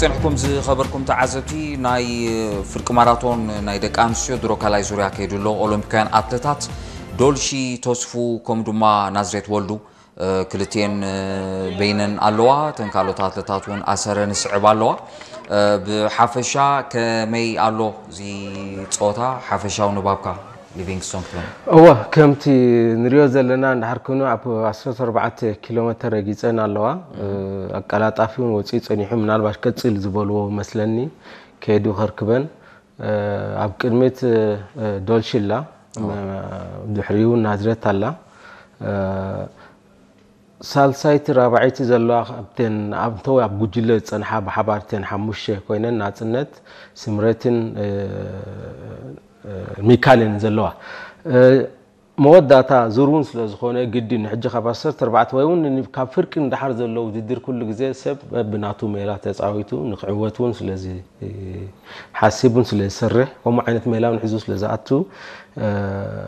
ጸንሕኩም ዝኸበርኩም ተዓዘብቲ፣ ናይ ፍርቂ ማራቶን ናይ ደቂ ኣንስትዮ ድሮ ካልኣይ ዙርያ ከይዱ ኣሎ። ኦሎምፒካውያን ኣትለታት ዶልሺ ተስፉ ከምኡ ድማ ናዝሬት ወልዱ፣ እ፣ ክልቲኤን፣ እ፣ በይነን ኣለዋ። እተን ካልኦት ኣትለታት እውን ኣሰረ ንስዕብ ኣለዋ። እ፣ ብሓፈሻ ከመይ ኣሎ እዚ ጸወታ? ሓፈሻዊ ንባብካ ሊቪንግስቶን ክብለን። እወ፣ ከምቲ ንሪኦ ዘለና እንድሕር ኮይኑ ኣብ ዓሰርተ ኣርባዕተ ኪሎ ሜተር ረጊጸን ኣለዋ። እ፣ ኣቀላጣፊ እውን ወፂኡ ጸኒሑ፣ ምናልባት ቀጽል ዝበልዎ መስለኒ ከይዱ ከርክበን። እ፣ ኣብ ቅድሚት፣ እ፣ ዶልሺ ኣላ። እወ። እ፣ ድሕሪኡ ናዝሬት ኣላ። እ፣ ሳልሳይቲ ራብዓይቲ ዘለዋ ካብተን ኣብ እንተወ ኣብ ጉጅለ ዝጸንሓ ብሓባር እተን ሓሙሽተ ኮይነን ናጽነት፣ ስምረትን፣ እ፣ እ፣ ሚካልን ዘለዋ። እ፣ መወዳእታ ዙር እውን ስለ ዝኾነ ግድን ሕጂ ካብ ዓሰርተ ኣርባዕተ ወይ እውን ን-፣ ካብ ፍርቂ ንደሓር ዘሎ ውድድር ኩሉ ግዜ ሰብ በብናቱ ሜላ ተጻዊቱ ንክዕወት እውን ስለዚ ሓሲቡን ስለ ዝሰርሕ፣ ከምኡ ዓይነት ሜላ እውን ሒዙ ስለ ዝኣቱ፣ እ፣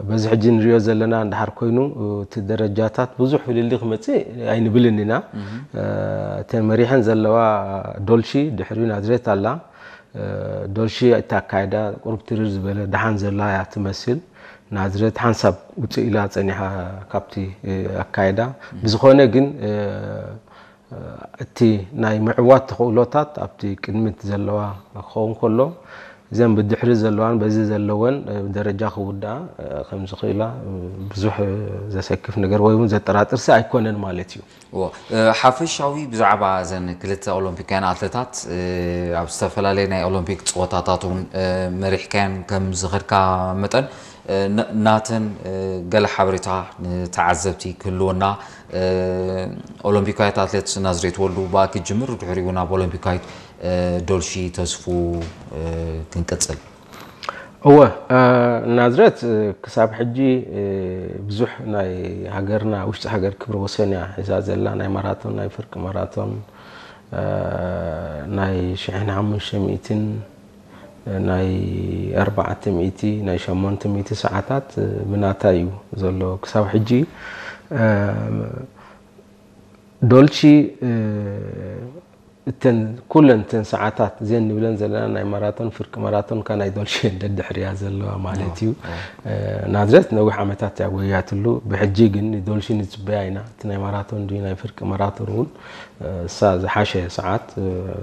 በዚ ሕጂ ንሪኦ ዘለና እንድሓር ኮይኑ፣ እቲ ደረጃታት ብዙሕ ፍልልይ ክመጽእ ኣይንብልን ኢና። እ፣ እተን መሪሐን ዘለዋ ዶልሺ ድሕሪኡ ናዝሬት ኣላ። እ፣ ዶልሺ እቲ ኣካይዳ ቁሩብ ትርር ዝበለ ደሓን ዘላ እያ ትመስል። ናዝሬት ሓንሳብ ውፅእ ኢላ ጸኒሓ ካብቲ፣ እ፣ ኣካይዳ። ብዝኾነ ግን፣ እ፣ እቲ ናይ ምዕዋት ተኽእሎታት ኣብቲ ቅድሚት ዘለዋ ክኸውን ከሎ፣ እዘን ብድሕሪ ዘለዋን በዚ ዘለወን፣ እ፣ ደረጃ ክውድኣ፣ እ፣ ከም ዝኽእላ፣ እ፣ ብዙሕ፣ እ፣ ዘሰክፍ ነገር ወይ እውን ዘጠራጥር ሲ ኣይኮነን ማለት እዩ። እዎ፣ እ፣ ሓፈሻዊ ብዛዕባ እዘን ክልተ ኦሎምፒካውያን ኣትለታት፣ እ፣ ኣብ ዝተፈላለየ ናይ ኦሎምፒክ ጸወታታት እውን፣ እ፣ መሪሕካየን ከም ዝኸድካ መጠን፣ እ፣ ን-፣ ናተን፣ እ፣ ገለ ሓበሬታ ንተዓዘብቲ ክህልወና፣ እ፣ ኦሎምፒካዊት ኣትሌት ናዝሬት ወልዱ ብኣ ክትጅምር፣ ድሕሪኡ ናብ ኦሎምፒካዊት፣ እ፣ ዶልሺ ተስፉ፣ እ፣ ክንቅጽል። እወ፣ እ፣ ናዝሬት፣ እ፣ ክሳብ ሕጂ፣ እ፣ ብዙሕ ናይ ሃገርና ውሽጢ ሃገር ክብረ ወሰን እያ ሒዛ ዘላ፣ ናይ ማራቶን፣ ናይ ፍርቂ ማራቶን፣ እ፣ ናይ ሽሕን ሓሙሽተ ሚእትን፣ ናይ ኣርባዕተ ሚእቲ፣ ናይ ሸሞንተ ሚእቲ ሰዓታት፣ እ፣ ብናታ እዩ ዘሎ ክሳብ ሕጂ። እ፣ ዶልቺ፣ እ፣ እተን ኩለን እተን ሰዓታት እዘን ንብለን ዘለና ናይ ማራቶን፣ ፍርቂ ማራቶን፣ ካ ናይ ዶልቺ እየን ደድሕርያ ዘለዋ ማለት እዩ። እ፣ ናዝሬት ነዊሕ ዓመታት እያ ጎያትሉ። ብሕጂ ግን ንዶልቺ ንጽበያ ኢና። እቲ ናይ ማራቶን ድዩ ናይ ፍርቂ ማራቶን እውን፣ እ፣ እሳ ዝሓሸ ሰዓት፣ እ፣